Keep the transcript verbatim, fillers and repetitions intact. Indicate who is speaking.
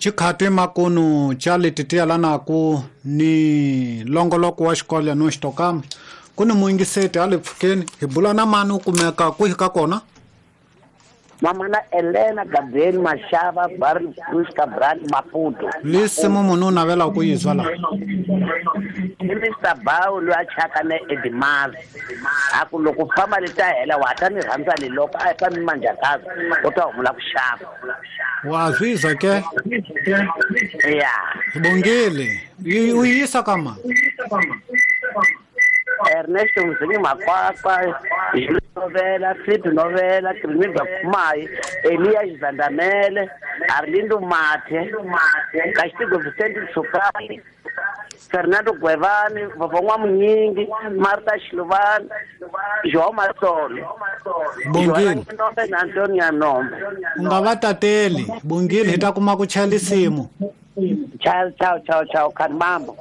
Speaker 1: Xikhati makunu xa leti ti yelanaku ni longoloko wa xikolo no xitokama ku ni muyingiseti a le pfukeni hi bula na mani u kumeka kwihi ka kona?
Speaker 2: Mamana Elena Gabriel Mashava Barry Cruz Cabral Maputo.
Speaker 1: Lisimu munhu u navela ku yi zwa la.
Speaker 2: I Mister Bawu loyi a chaka na Edimaz. A ku loko famba le ta hela wa ta ni rhandza ni loko a fa mi manjakazi u ta humula ku xava.
Speaker 1: Wa zwiza ke?
Speaker 2: Ya.
Speaker 1: Bongile. U yisa ka ma?
Speaker 2: Ernesto Mzingi Makwakwa, Jules Novela, Philip Novela, Krimidza Kumai, Elias Zandamele, Arlindo Mathe, Castigo Vicente Tsukani, Fernando Guevani, Vavongwa Munyingi, Marta Shiluvani, João Martolo.
Speaker 1: Bongile.
Speaker 2: Na Antonio Nombe.
Speaker 1: U nga va tateli, Bongile hi ta kuma ku chaya lisimu.
Speaker 2: Ciao, ciao, ciao, ciao, Kanmambo.